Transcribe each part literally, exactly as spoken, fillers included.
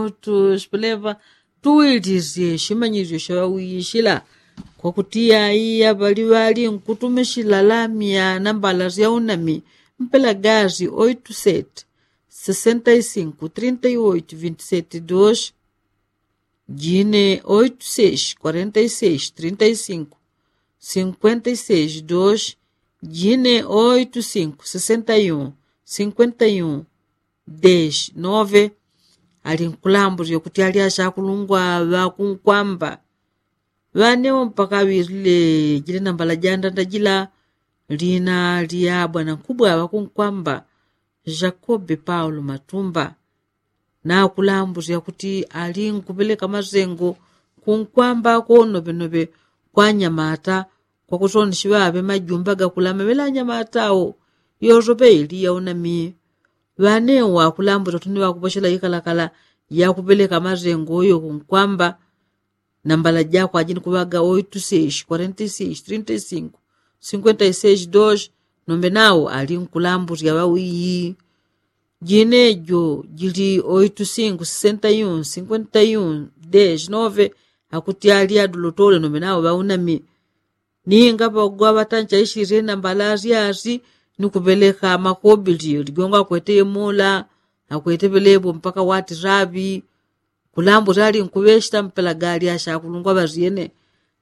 Tuspeleva tuwilizye shimanyizyo shaŵawiyi shila, kwakutiya iya ŵali ŵali nkutumisila lamya na mbala sya unami. Mpela gazi oitu seti sesenta i sinku trinta i oitu vinti seti dos, jine oitu seis kwarenta i seis trinta i sinku sinkwenta i seis dos, jine oitu sinku sesenta i un sinkwenta i un des nove. Ali nkulamburya kuti ali ashakulungwa ŵakunkwamba ŵanewo mpaka ŵilile jile nambala jandanda jila. Lina lya bwana nkubwa ŵakunkwamba jakobe paulo matumba. Nakulamburya kuti ali nkupeleka masengo kunkwamba konoŵenoŵe kwa nyamata kwakusoni shiŵaŵe majumba gakulama ŵela nyamata wo. Yosope ili yaunami ŵanewo wakulambula kuti ni ŵakuposhela ikalakala yakupeleka masengo yo kunkwamba. Nambala jakwa jini kuŵaga oitu seis kwarenta i seis trinta i sinku sinkwenta i seis dos. Nombe nawo ali nkulamburya ŵawiyi. Jine jo jili oitu sinku sesenta i un sinkwenta i un des nove. Akuti ali adulotole nombe nawo ŵaunami. Ninga ŵagwa ŵatancha ishirye nambala asyasi ni kuŵeleka makobili ligongo akwete yemola akwete ŵelepo mpaka wati raŵi. Kulambu syali nkuŵeshita mpela gali ashakulungwa ŵasyene.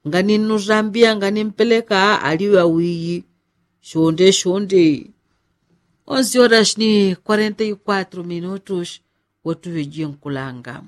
Ngani nnusambiya ngani mpeleka ali ŵawiyi. Shonde shonde. Onsi orashi ni kwarenta i kwatru minutus. Watuŵeje nkulanga.